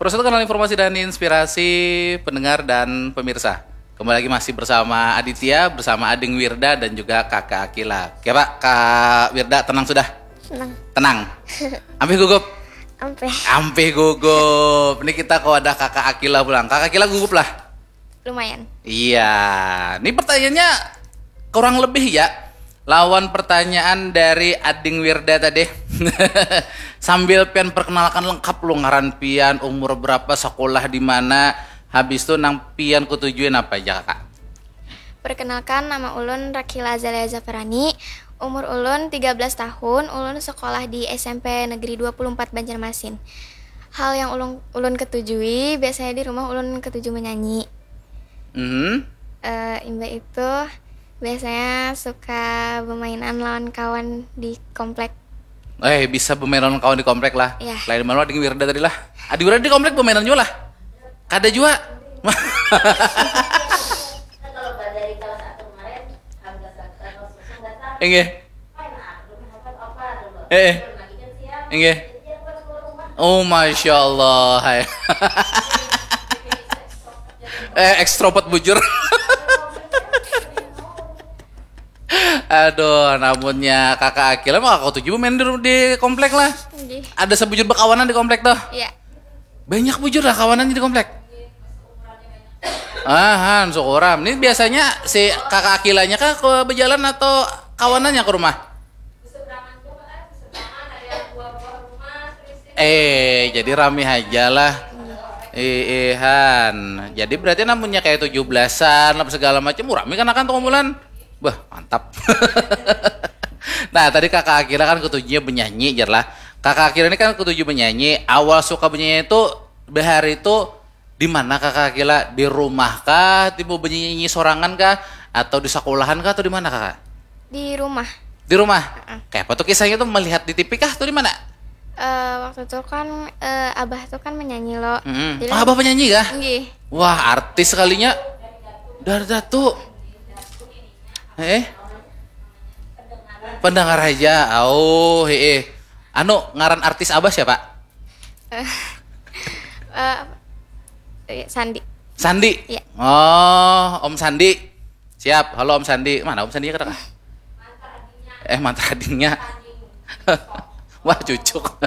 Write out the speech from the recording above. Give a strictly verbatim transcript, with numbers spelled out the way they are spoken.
Terus itu kanal informasi dan inspirasi pendengar dan pemirsa. Kembali lagi masih bersama Aditya, bersama Ading Wirda dan juga Kakak Akila. Oke Pak, Kak Wirda tenang sudah? Tenang. Tenang. Ampih gugup? Ampih. Ampih gugup. Ini kita kok ada Kakak Akila pulang. Kakak Akila gugup lah? Lumayan. Iya. Ini pertanyaannya kurang lebih ya. Lawan pertanyaan dari Ading Wirda tadi. Sambil pian perkenalkan lengkap lu ngaran pian, umur berapa, sekolah di mana, habis itu nang pian ketujuin apa aja kakak? Perkenalkan, nama ulun Rakila Azalea Zafarani. Umur ulun tiga belas tahun, ulun sekolah di S M P Negeri dua puluh empat Banjarmasin. Hal yang ulun, ulun ketujui, biasanya di rumah ulun ketuju menyanyi. Mhm. Eh, imbah itu, biasanya suka bermainan lawan kawan di komplek. Eh, bisa bermain lawan kawan di komplek lah. Iya. Lain malu Ading Wirda tadi lah. Ading Wirda di komplek bermainan juga lah. Kada juga. Inggih. Eh, eh. Inggih. Oh, masya Allah. Hai. Eh, ekstrovert bujur. Aduh, namunnya kakak Akila mah kakak tujuh main di, di komplek lah. Nggih. Ada sebujur bekawanan di komplek tuh. Iya. Banyak bujur lah kawanannya di komplek. Ahan, syukuram. Ini biasanya si kakak Akilanya kah ke berjalan atau kawanannya ke rumah? Eh, jadi rame aja lah. Iihan. Jadi berarti namunnya kayak tujuh belasan apa segala macam, uh, rame kan akan tuh kumpulan. Bah, mantap. Nah, tadi kakak Akila kan ketujuhnya menyanyi jar lah. Kakak Akila ini kan ketujuh menyanyi. Awal suka menyanyi itu bahari itu di mana kakak Akila? Di rumah kah? Tiba menyanyi sorangan kah? Atau di sekolahan kah? Atau di mana kakak? Di rumah. Di rumah. Kayak apa tuh kisahnya tuh, melihat di T V kah atau di mana? Eh, waktu itu kan, eh, abah tuh kan menyanyi lo. Mm-mm. Jadi Oh, abah penyanyi kah? Nggih. Wah, artis sekalinya. Dari Datu. Eh? Pendengar aja. Oh, heeh. Anu, ngaran artis abah siapa? Eh, eh, iya, Sandi. Sandi. Iya. Oh, Om Sandi. Siap. Halo Om Sandi. Mana Om Sandi kata? Eh, mantra adingnya. Wah, cucuk.